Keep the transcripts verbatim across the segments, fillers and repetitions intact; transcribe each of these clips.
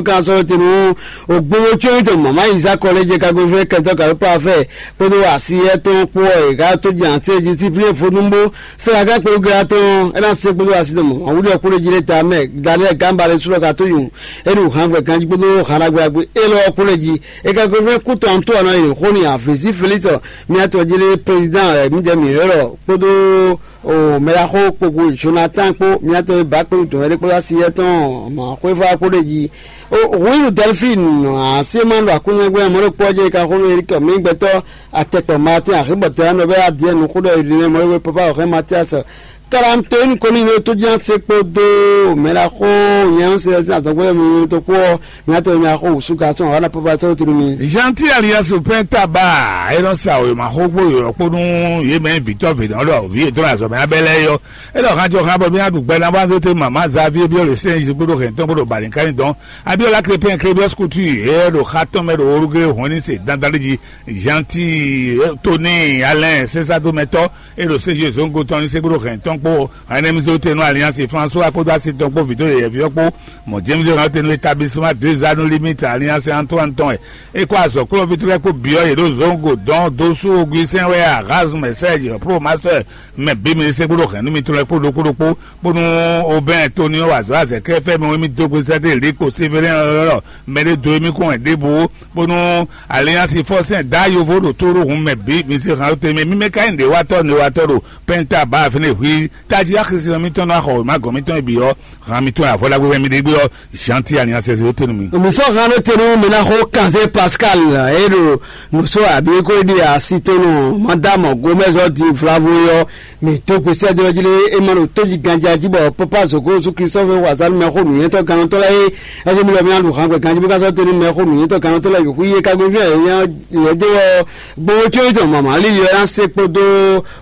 Kan sɔ́ te nú ògbówó có tɔn mama Iza kɔlɛ́jɛ kagbéfɛn kɛntɔ́ kàwé pafɛ kpódó asiyɛ tɔn kpó ɔ́, è ká tó jɛ àti disipline fónúbó sɛ́ ká kpé gla tɔn é ná se kpódó asi tɔn mama wúɖɔ kpódó jí ɖé ta mɛ Daniel Gamba lé súlɔ ka tó yun é ɖo hǎngbɛ ganjí kpódó hǎnɖagbe élɔ́ kpódó jí. É ka gbéfɛn kú tɔn tó ɔnɔ yi xó ni àfěsí Félix miatɔ jí ɖé président ɛ mǐdɛɛ mǐ ylɔ́ kpódó o mɛɖaxó kpokpo Jonathan kpó miatɔ e ba kpé tɔn ɛɖé kpódó asi yɛtɔn mɔ xwéfá kpó ɖe jí. O huilu Delphine aséma ɖo akúnyɛgbɛ mɔɖokpɔ jɛ ka xó nú Eric mi gbɛtɔ atɛkpɔ Martin axébɔtɛ anɔ bɛ adiɛ nuxó ɖɔ Irinɛ mɔɖokpɔ papa ɔxɛ Mathias karantoyin kɔni ɖo tó jɛn se kpódó mɛɖaxó nyɛ sɛ adɔgbɛ mi to kpó miatɔ mi axó wusu ka sɔn wana papa sɔ tunu mi. Gentil alias Pɛntaba e nɔ sa wěma xógbó yɔ̌yɔ́ kpó nú yě mɛ vǐtɔ́ vǐnɔ ɖɔ vǐ yětɔn azɔ̌ mɛ abɛ lɛ́ɛ yɔ. É ɖɔ hanjɔ han bɔ mí ná ɖu gbɛ ná bó ná zé té mama Xavier byɔ́ le sɛ́n jí kpódó hɛn tɔn kpódó balǐnkányi dɔn. Abiola Crépin Crébius Couture é ɖo xa tɔn mɛ ɖo Uruguay hɔn ní se dandan ɖé jí. Gentil Tony Alain sésádómɛtɔ́ é ɖo séjé zóngo tɔn ní se kpódó hɛn tɔn kpó René Mizotenu Alliance François kpódó asi tɔn kpó vǐdó yɛyɛví ɔ́ kpó mɔ James René Tenu établissement deux anneaux limite Alliance Antoine tɔn wɛ. É kó azɔ̌ kplɔ́nví lɛ́ɛ kpó byɔ́ yě ɖo zóngo dɔn dó sú Augustin wɛ Erasme Serge Pro Master mɛ bǐ mi se kpódó hɛ̌nnu mitɔn lɛ́ɛ kpó ɖokpó ɖokpó, bónú Obɛ́n Tonio wa azɔ̌ azɛ̌ kɛ́ fɛ́ mɛ wɛ mì dó gbe sɛ́ dó Eliko Sevelɛ́n ɔ́, mɛ ɖé dó émí kɔn wɛ ɖěbǔ, bónú Alliance Fɔsɛn dá yovo ɖo tó ɖó hun mɛ bǐ mi se hǎn te mɛ mímɛ́ ka nyí nǔɖéwatɔ́ nǔɖéwatɔ́ ɖo pɛ́nta bá fínɛ́ hwí tají axisínɔ mitɔn ná xɔ wěma gɔ̌n mitɔn e bǐ ɔ́, han mitɔn e avɔ ɖagbe wɛ mi ɖe gbé ɔ́, Jean ti Alliance zéro tenu mi. Mi sɔ han ɖo tenu mi na xo kanzé Pascal e ɖo nusɔ abi ko ɖi asi tonu madame Gomez ɔ di vlavo yɔ mi to gbèsè dɔ jí lé e ma ɖo tóji ganjá jí bɔ papa zoko zu Christophe wazali mɛ xo nuyɛntɔ gannɔtɔ lɛ e ɛdí mi lɔ mi aɖu han gbɛ ganjí bó ka sɔ tenu mɛ xo nuyɛntɔ gannɔtɔ lɛ yòókù yé kagbé fia yɛ yɛ dé wɔ gbowó tí ó jɔ mama ali yɔ ya se kpódó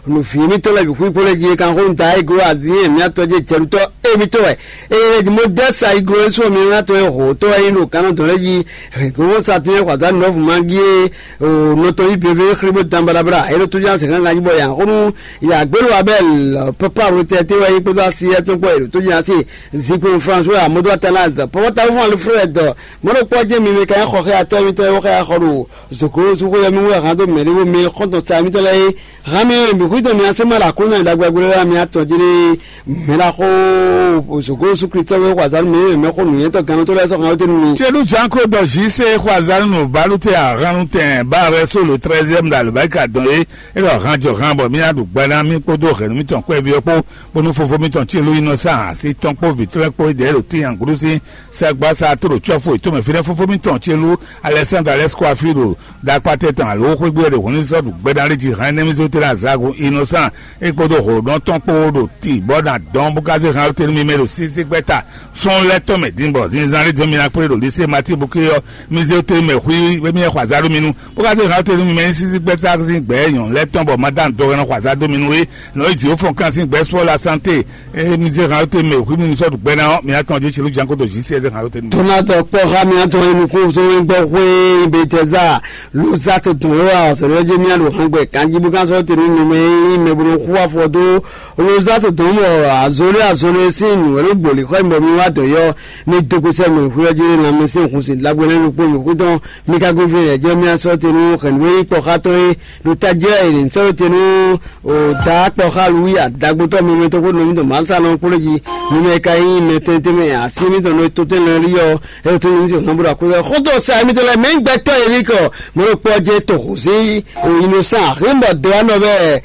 nǔví mitɔn lɛ yòókù kpó lɛ jí e kan xo da e glo adi yɛ mi atɔ jɛ jɛlutɔ e mitɔn wɛ Eye di mo dɛ sa iglo e sɔ mi ŋa tɔn e ho tɔ e lo kanɔ dɔn lɛ yi. He go sa tun e hwaza nɔ fu mangi e o nɔ tɔn yi beve xri bo dan balabla e lo to jan se kan ganji bɔ ya xonu ya gbelo abel papa ro tɛ te wa yi kpɔtɔ asi e tɔn kpɔ e lo to jan se zikun françois amodo atalaz papa ta fún alfred mɔɖo kpɔ jɛ mi me kan xɔ xe atɔ mi tɔ e wo xe axɔ ɖo zoklo suxu yɛ mi wo han do mɛ ɖe wo mi xɔntɔn sa mi tɔ lɛ ye. Hami mǐ xwídó mi asé má ɖo aklúnɔ e ɖagbe gbé ɔ́ mi atɔn jí ɖé mɛ ɖaxó zǒgó Yusú Klísu wɛ xɔ azǎn nú mǐ, mɛ xó nǔnywɛ́tɔ́ gannú tó lɛ́ɛ sɔ́ xan wété nú mi. Celu Jean Claude Jise xɔ azǎn nú Balute Ahannu tɛn ba rɛ so le treizième ɖo alɔbáríka dɔn é. É ɖɔ han jɔ han bɔ mí ná ɖu gba ná mí kpódó hɛ̌nnu mítɔn kpɛví ɔ́ kpó, bónú fofó mítɔn Celu Innocent asi tɔn kpó vǐ tɔn lɛ́ɛ kpó é ɖo tíin gǔdo sín sɛgbasa tlǒ cɔ́fu yětɔn mɛ fínɛ́ fofó mítɔn Celu Alexandre Alexco Afilo ɖo ɖakpatɛ tɔn alo xwégbé ɖo hɔnnísɔ́ ɖu gbɛɖalé jí hɛn énɛ́ mì zó tlɛ azǎgo Innocent é kpódó hǒɖɔ́ntɔn kpó ɖo ti bɔ na dɔn bó ká zé hɛn tenu mi mɛ ɖo sísí gbɛ́ta sɔ́n lɛ́ tɔn mɛ din bɔ zinzan ɖé dɔn mi ná kplé ɖo lisée Matíbuké ɔ́ mi zé tenu mɛ xwí émí xɔ azǎ ɖó mi nu bó ká zé hɛn tenu mi mɛ nyí sísí gbɛ́ta sín gbɛ̌ nyɔ̌nu lɛ́ tɔn bɔ Madan dɔhɛn xɔ azǎ dó mi nu é nɔ yi jǐ ó fɔn kan sín gbɛ́ spɔ́ la santé. Emi zé hàn te mɛ hwi mi sɔ́ ɖu gbɛ ná ɔ́, mi atɔn jí ṣèlú janko ɖo jí sí ɛ zé hàn te nú. Donald kpɔ ha mi atɔn enu kó so gbɔ xwé Betesda ló zá te dɔn wá sɔrɔ jẹ mi aɖo hàn gbɛ kanjí bó kan sɔ́ te nú mi mɛ yín mɛ bó xú afɔ dó ló zá te dɔn mɔ azɔlé azɔlé sín nǔ ɛló gbòlì xɔ mi bɔ mi wá dɔ yɔ mi dó kó sɛ mi xwé ɔjí na mi sín hun sin lágbó lẹ́nu kpó mi kú tɔn mi ka gbé fún yɛ jẹ́ mi asɔ te nú xɛ̀nú wé kpɔ xá tɔn é ɖo tají ɛ ní sɔ́ te nú O da kpɔ xá Luwi adagbotɔ mɛmɛ tɔn kó nɔ mì tɔn Mawu sa nɔ kplé jí. Mɛmɛ ka nyí mɛ tɛntɛn mɛ asi mì tɔn nɔ to tɛn lɛ rí ɔ. E to nyi se hàn bro akó xó to sa mì tɔn lɛ mɛ gbɛtɔ yɛ rí kɔ. Mɛ ɖo kpɔ jɛ to xó sí o Innocent hɛn bɔ do anɔ bɛ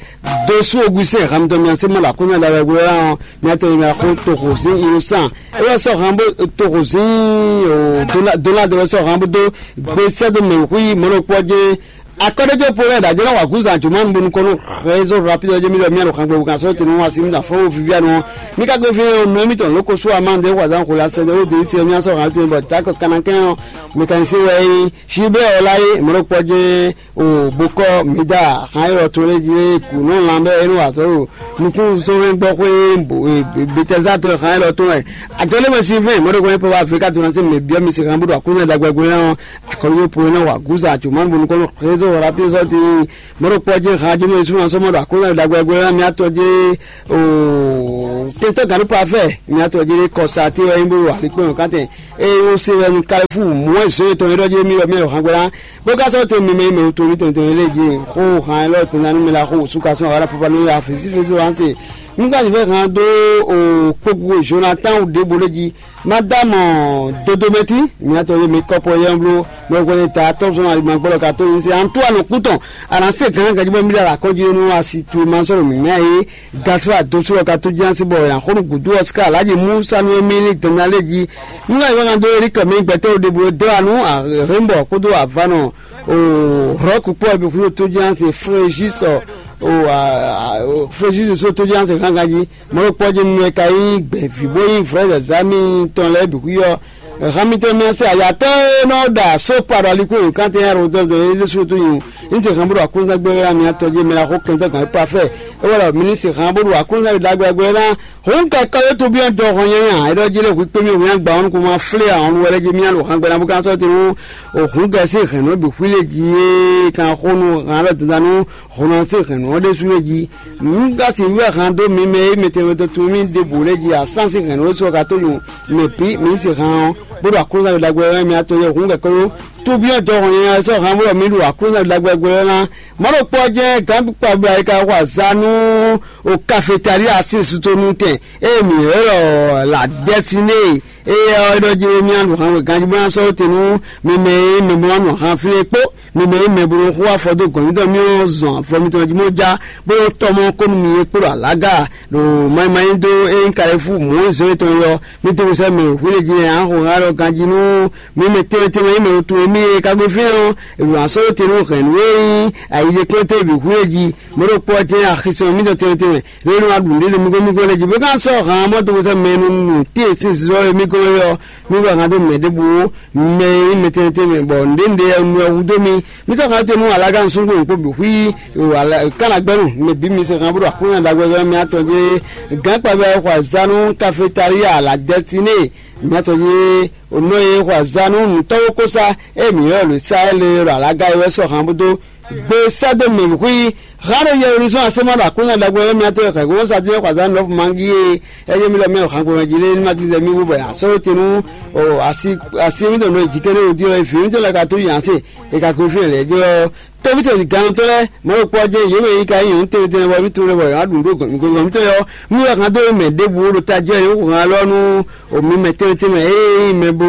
do sú Augustin hàn tɔn mi asi mɔ la kó nya da wɛ gbé ɔn. Mi atɔ yi mi axó to xó sí Innocent. E wɛ sɔ hàn bó to xó sí o Donald wɛ sɔ hàn bó do gbé sɛ do mɛ hu yi mɛ ɖo kpɔ jɛ Akɔ́ɖéjé Paul ɖo ajɔ̌ ná wa gǔzan jǒ ma nu bónú kɔn nú réseau rapide ɔ́ jɛ mì ɖɔ mì anɔ xangbɛwu kan sɔ́ tenu wá sí mì afɔ́n wo vivianu ɔ́. Mì ka gbe fí ɔ́ nɔ émítɔn lóko sú amá ɖě hwazán xo la sɛdɛ wó dé sí mì asɔ́ hàn tenu bɔ Jakɔ Kanakɛn ɔ́ mécanicien wɛ é nyí. Gilbert Olaye mɔ̌ɖɔkpɔ́ jɛ́n o bokɔ mǐda hàn é ɔ́ tó lé jí kù nɔ lan bɛ́ é nɔ wa azɔ̌ ɖo nukúnnú sɔ́ hɛn gbɔ xwé Betɛza tɔn hàn é lɔ tó wɛ. Ajɔ̌ lé mɛ sí fɛn mɔ̌ɖɔkpɔ́ nyɛ pɔ́ wá Afrika tó ná sí mɛ byɔ́ mi sí hàn bó ɖo Aklúnɔ ɖagbe gbé ná ɔ́. Akɔlɔ yóò po iná wà gúzà àjùmọ́ bonu kɔnɔ xézó wà lápí sɔ ti mɔɖo kpɔ jɛ ha jɛ mɛ suma sɔmɔ ɖo akɔlɔ dagbe gbɛ mi atɔ jɛ o tɛtɔ ganu pa fɛ mi atɔ jɛ kɔsa ti wɛ bo wà likpɛ o kátɛ E o se wɛ nu Kalifuu mɔ̌ e zɔn yětɔn e ɖɔ jí émí wɛ mɛ o hangwɛ ná, bó ka sɔ́ te mɛmɛ e mɛ o to ní tɛntɛn lé jí xó han élɔ́ tɛntanú mɛ la xó wǔsú ka sɔ́ aɣá fúfá nú ya fǐsí físí wá se. Nú ka sixú han dó o kpókpó Jonathan ɖěbǔ lé jí. Madame Dodomɛti, mǐ atɔn e mǐ kɔ́pɔ yɛ́n bló mɛ hwɛ́nɛ ta atɔ́ zɔn ayi ma gbɔ́lɔ ka tó nyi se Antoine kú tɔn. A nǎ se gǎn ganjí bɔ mí ɖo alakɔ́ jí nú asi tu e ma sɔ́ ɖo mǐmɛ́ é. Gaspar dó sú ɔ́ ka tó jínjɔ́n sí bɔ è nǎ xo nú gǔdo ɔ́ sí ká Alǎji Musa nú émí ní dɔn ná lé jí. Nú ayǐ wákan dó Erike mɛ gbɛtɔ́ ɖěbǔ dó anú Arhémbɔ kpódó Avánɔ o Rɔ̌ku kpó ɔ́ bǐ xwíxwó tó jínjɔ́n sí Fréjus o Fréjus só tó jínjɔ́n sí hángan jí. Mɔ̌ ɖokpó ɔ́ jí nú ɛ ka nyí gbɛ̌ví bó nyí vrɛ̌ zǎzá mì tɔn lɛ́ɛ bǐ xwí ɔ́. Hán mitɔn mì se ayatɔ́ e nɔ ɖa só kpa ɖo alikún nǔkantɛn Herode ɖo é ɖésú tó nyi. Ní se hán bó ɖo aklúnzán gbé wɛ mì atɔn jí mɛ la xó kɛntɔ́ gǎn pa fɛ. É wɛ ɖɔ mi ní se hán bó ɖo aklúnzán ɖagbe ɖagbe ná. Hǔn kɛkɔ yótú byɔ́ jɔ hɔn nyanya é ɖɔ jí lé hwǐ kpé mì hwǐ agba ɔ́ nukún ma flé ahɔn wɛ lɛ́ jí mì ɖo hán gbɛ́ ná bó ka sɔ́ te nú hǔn kɛ sín hɛ̌nnu bǐ xwí lé jí é kan xó nú hán lɔ dandan nú hɔn ná sín hɛ̌nnu ɔ́ ɖésú lé jí. Nǔ ka sixú wɛ hán dó mi mɛ e mɛ tɛnmɛ dó tunwun mì ɖěbǔ lɛ́ɛ jí asán sín hɛ̌nnu e sɔ́ ka tó nyu mɛ bǐ mi se hán ɔ́, bó ɖo aklúnɔ́ ɖagbe wɛ mì atɔn yɛ hǔn kɛkɔ́ ɖó. Tóbyɔ́ jɔhɔn nyanya ɔ́ sɔ́ hán bó ɖɔ mì ɖo aklúnɔ́ ɖagbe wɛ ná. Mɔ̌ ɖokpó ɔ́ jɛ́n gǎn kpabla e ka xo azǎn nú o kafetalí asínsútónú tɛn e mǐ ylɔ́ ɖɔ la dɛsiné. Éyɛ́ ɔ́, é ɖɔ jí mì nǔ hán wɛ ganjí bó ná sɔ́ te nú mi mɛ e mɛ bó ná nɔ han flín é kpó mi mɛ e mɛ bó nɔ xo afɔ dó gɔ̌n mitɔn mì ɔ́ zɔn afɔ mitɔn jí mɔ já bó nɔ tɔ mɔ kó nú mi é kpó ɖo alága ɖo manyi manyi dó é nyí Kalɛ́fu Mɔ̌zɔ́ tɔn é ɔ́, mi to sɛ́ mɛ hwílé jí nya xo há ɖɔ ganjí nú mi mɛ tɛnmɛ tɛnmɛ e mɛ wuntun e mì é ka gbe fínɛ́ ɔ́, è ɖo asɔ́ te nú hɛ̌nnu e nyí ayiɖekpɔ́ntɔ́ e bǐ hwílé jí. Mɔ̌ ɖokpó ɔ́ jɛ́n axisɔn mitɔn tɛnmɛ tɛnmɛ. Lě e nɔ wa ɖu nǔɖé ɖo mí gɔ́n mí gɔ́n lɛ́ɛ jí bó ka sɔ́ han mɔ do sɛ́ mɛ e nɔ nu tíe sín zizɔ e mí gɔ́n é ɔ́, mí wɛ han dó mɛ ɖěbǔ ó, mɛ e nyí mɛ tɛnmɛ tɛnmɛ, bɔ nǔɖé nǔɖé ɔ́ nu wɛ hudó mí. Mí sɔ́ han te nú alágánusúngbó ɖokpó bǐ xwí kánagbɛ́nu mɛ bǐ mi se han bó ɖo Aklúnɔ ɖagbe mɛ atɔn jí gǎn kpabɛ xɔ azǎn nú kafetalíya la dɛsiné mɛ atɔn jí nɔ e xɔ azǎn nú nǔtɔ́wókósá e mǐ ylɔ́ ɖo Saɛ́li ɖo alága é wɛ sɔ́ han bó dó gbe sɛ́ dó mɛ bǐ xwí. Hán ɖo Yɛlunísɔ́n asɛ́mɔ ɖo Aklúnɔ ɖagbe ɔ́ mɛ atɔn e hɛ̌nnu sá dín xɔ azǎn nɔ́ fu mangí e é nyɔ́ mì ɖɔ mɛ o hǎngbɔ́n jí lé ní ma dín zɛ mì wú bɔ a sɔ́ we te nú asi asi mítɔn nɔ jǐkɛ́n ɖé wodí ɔ́, vǐ mítɔn lɛ́ɛ ka tó nyi ase e ka ko fínɛ́ lɛ̌ jɔ ɔ́. Tóví ce gannɔtɔ́ lɛ́ɛ mɔ̌ ɖokpó ɔ́ jɛ́n yě mɛ yi ka nyí nyɔ̌nu tɛnmɛ tɛnmɛ bɔ mí tunwun lɛ́ bɔ yě wá ɖu nǔ ɖo gɔ̌n mítɔn yɔ́. Mí wɛ hán dó mɛ ɖěbǔ ɖo tají ɔ́, yě xo hán lɔ nú o mi mɛ tɛnmɛ tɛnmɛ e nyí mɛ bo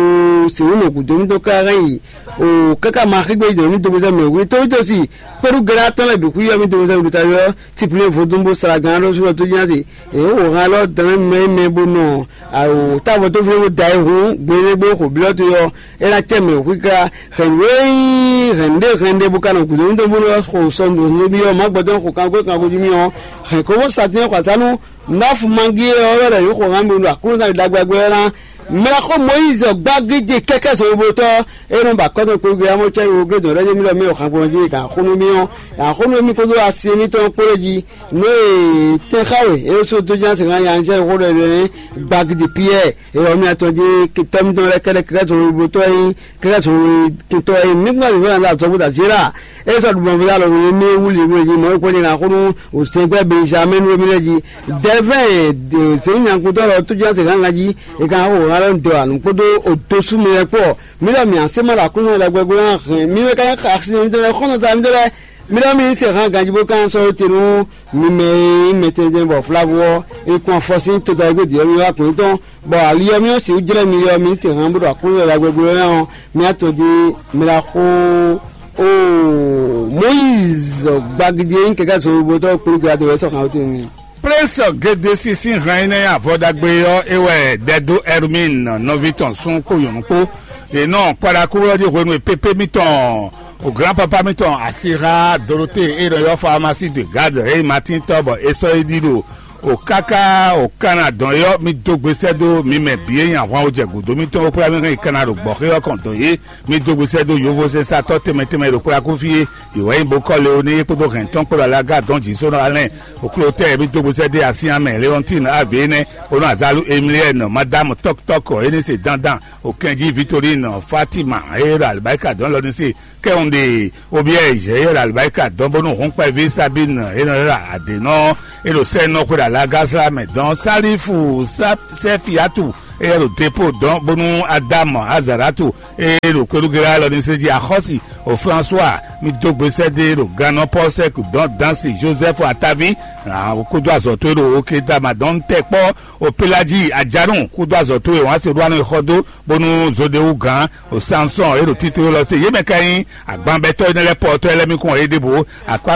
sixú nɔ gǔdo mítɔn káká yi o káká ma xígbe yi dɔ̌n mí dó gbèsè mɛ wí tóví tó si kpódú gɛ́ɖá tɔn lɛ́ɛ bǐ xwíyɔ́ mí dó gbèsè mɛ ɖo tají ɔ́. Tiplé vodún bó sala gán ɖó sú ɔ́ tó jí ná se. Èyí wò hán lɔ dán mɛ mɛ bó nɔ awo tábɔ tó flé bó da yi hun gbélé gbé xo blɔ́ to yɔ é ná cɛ mɛ xwíká hɛn wéyí hɛn ɖé hɛn ɖé bó ka nɔ gǔdo nítorí bó nɔ xo sɔ nǔ nú byɔ́ má gbɔdɔ́ xo kankwé kankwé jí mì ɔ́ hɛn kó bó sa tɛ́n xɔ atánú. Nɔ́ fu mangí ɔ́ wɛ lɛ yǒ xo hán mi ɖo Aklúnɔ ɖagbagbɛ ɔ́ ná. Mɛ xó Moyízi gbágídí kɛ́kɛ́ zɔngbotɔ́ é nɔ ba kɔ́tɔn kpégbé amɔ́ cɛ́ wo glédɔn lɛ́ jí mì lɔ mɛ xangbɔn jí kan xónú mì ɔ́, axónú mì kpódó asi mítɔn kpó lé jí. Nú e tɛn xa we é só dó ján sɛn nya nyanya xó ɖɔ ɖɔ gbagidi Piyɛ́ɛ é wɔ mì atɔn jí tɔ́ mítɔn lɛ́ kɛ́ɖɛ́ kɛ́kɛ́ zɔngbotɔ́ é nyí kɛ́kɛ́ zɔngbotɔ́ é nyí. Mí kún azǐ fɛ́nɛ ɖo azɔ̌ bó da zé ɖa é sɔ́ ɖu mɔ̌ fúnra lɔ̌ wǔ mì wú li wé jí mɔ̌ é kpɔ́n ní ná xónú òsɛngbɛ́ Benjamin wé mì lɛ́ jí. Dɛ̌vɛ́n zěmí nyankúntɔ́ lɔ tó ján sɛn gángan jí é ka xó hán lɔ́ dɔ anu kpódó òdosú mi lɛ́ɛ kpó ɔ́. Mí lɔ mǐ asé ma ɖo Aklúnɔ ɖagbe gbé ná hɛn mí wɛ ká nyí xaxísinɔ mítɔn lɛ́ɛ, xɔ́ntɔn mítɔn lɛ́ɛ. Mí lɔ mí se hán ganjí bó kán sɔ́ te nú mi mɛ e nyí mɛ tɛnmɛ bɔ Flavu ɔ́, è kún afɔ sín todawígbé ɖě ɔ́ mì wá gbɔ̌n tɔn, bɔ ali ɔ́ mì ɔ́ sixú jlɛ́ mi ɔ́, mǐ se hán bó ɖo Aklúnɔ ɖagbe gbé ná ɔ́, mì atɔn jí mi la xó. Oo, Moyízi gbagidi e nyí kɛkɛ́ zɔnlin bó tɔ́ kplú gbé adó wɛ sɔ́ hán wóte nú mi. Prince Gedesi sín hɛn énɛ́ avɔ ɖagbe ɔ́ é wɛ ɖɛ dó Hermine nɔví tɔn sún kpó nyɔ̌nu kpó. Yě nɔ kpaɖakúwlɔ́ ɖi hwenu e pépé mitɔn o grand papa mitɔn asixá Dorothée e nɔ ylɔ́ Pharmacie de Garde e Martin tɔ́ bɔ é sɔ́ é ɖi ɖo o káká o Kana dɔn é ɔ́, mi dó gbe sɛ́ dó mi mɛ bǐ e nyi ahwan o jɛ gǔdo mitɔn bó kplá mi hɛn yi Kana ɖo gbɔ̌xé ɔ́ kɔn dɔn yě. Mi dó gbe sɛ́ dó yovózɛ́nsatɔ́ tɛnmɛ tɛnmɛ e ɖo kplákúfí é. Ìwɛ nyí Bokɔ́ Leoní é kpódó hɛ̌ntɔ́n kpódó alága dɔn jǐ sónɔ Alɛn. Oklótɛ́ mi dó gbe sɛ́ dó así amɛ Leɔntín Avé énɛ́, Onú Azalu Emiliɛ́nɔ, Madámu Tɔ́kutɔ́kɔ é ní se dandan, Okɛnjí Vitorín, Fátima, é ɖo alibáríkà dɔn lɔ ní se, Kɛ́nɖe, Obiɛ́ Zɛ̌ é ɖo alibáríkà dɔn bónú hɔ́nkpɛví Sabín é nɔ ɖo adě nɔ é ɖo sɛ́nɔ xwe ɖo alága sla mɛ dɔn, Salífu, Sɛ́fiatu, Éyɛ́ ɖo depo dɔn bónú Adamu Azaratu e ɖo Kwelugela lɔ ní se jí axɔ́si o François mi dó gbe sɛ́ dó e ɖo gannɔ Pɔ́sɛ́k dɔn dansi Joseph Atavi kúdó azɔ̌ towe ɖo Oketama dɔn tɛ kpɔ́ o Pelaji Ajanu kúdó azɔ̌ towe wǎn se ɖó anɔ xɔ dó bónú Zodewu gán o Samson e ɖo títló lɔ se yě mɛ ka nyí agbanbɛtɔ́ énɛ́ lɛ́ɛ pɔtɔ́ lɛ́ɛ mì kɔn yěɖěbǔ.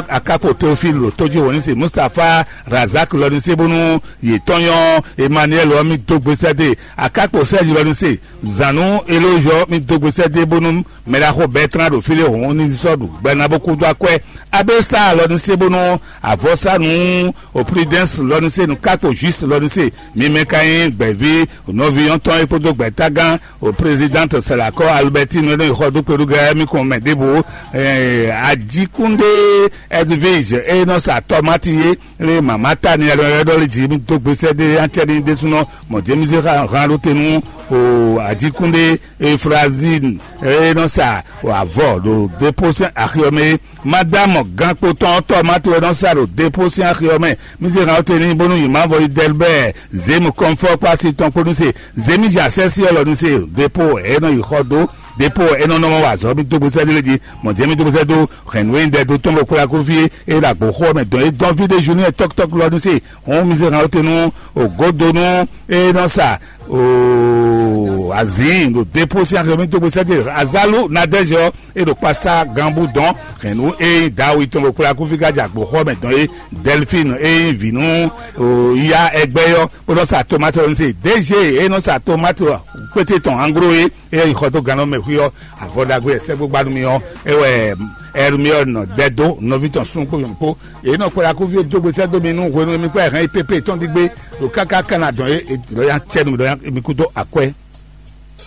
Akákpo Teofil ɖo tójí wǒ ní se Mustapha Razak lɔ ní se bónú yě tɔn nyɔ́ Emmanuel ɔ́ mì dó gbe sɛ́ dó e. Akákpo Sɛ́zi lɔ ní se zǎnú Elózɔ mì dó gbe sɛ́ dó e bónú mɛ ɖaxó Bɛtran ɖo fí ɖé hǔn ní sɔ́ ɖu gbɛ ná bó kúdó akwɛ́. Abésa lɔ ní se bónú avɔsánú o Prudence lɔ ní se nú kákpo Juice lɔ ní se mi mɛ ka nyí gbɛ̌ví nɔví yɔ́ntɔn é kpódó gbɛ̌tágán o présidente Salakɔ Albertine e nɔ yi xɔ dó kpeɖugɛ mi kɔn mɛ ɖěbǔ. Ajikúndé Edwige e nɔ sa tɔmati é lé mama ta ni ɛlɔ ɛlɔ lé jí mi dó gbesɛ dé acɛ ni ɖésúnɔ mɔ James hàn ɖó te nú o Ajikúndé Efrazin e nɔ sa avɔ ɖo dépôt sɛn axi ɔ́ mɛ é. Madame gǎnkpotɔ́ tɔ́ Mateo nɔ sa ɖo dépôt sín axi ɔ́ mɛ. Mi se hàn ɔ́ te n'i bónú yi Mavɔ yi Dɛlbɛ́ɛ, Zěmu kɔnfɔ kpó asi tɔn kpó ní se. Zěmija sɛ́sí ɔ́ lɔ ní se dépôt ɛ nɔ yi xɔ dó. Dépôt ɛ nɔ nɔ wa azɔ̌ mi dó gbésɛ dó lé jí. Mɔ jɛ́ mi dó gbésɛ dó hɛn nǔ e un ɖɛ dó tɔn bɔ kplá kó fí é ɖo agbo xó ɔ́ mɛ dɔn é dɔn fí ɖé ju ní tɔ́kítɔ́kí lɔ ní se. Hɔn mi se hàn ɔ́ te nú ògódonú e nɔ sa o azǐin ɖo dépôt sín axi ɔ́ mi dó gbésɛ dó Azalu Nadɛ́zɔ e ɖo kpasa ganbu dɔn hɛn nú e nyí Dawu tɔn ɖo kplá kúfíkájà gbǒxɔ mɛ dɔn é. Delphine e nyí vǐ nú ya ɛgbɛ ɔ́ bó nɔ sa tomate ɔ́ se. D G e nɔ sa tomate kpété tɔn anglo é e nyí xɔ dó gannɔ mɛ xwí ɔ́. Avɔ ɖagbe e sɛ́gbó gba nú mi ɔ́ é wɛ Hermione dɛ dó nɔví tɔn sún kpó nyɔ̌nu kpó. Èyí nɔ kplá kúfí dó gbèsè dó mi nú hwenu mi kpá hɛn pépé tɔn dígbé ɖo káká kana dɔn é lɔ ya cɛ nú mi lɔ ya mi kú dó akwɛ.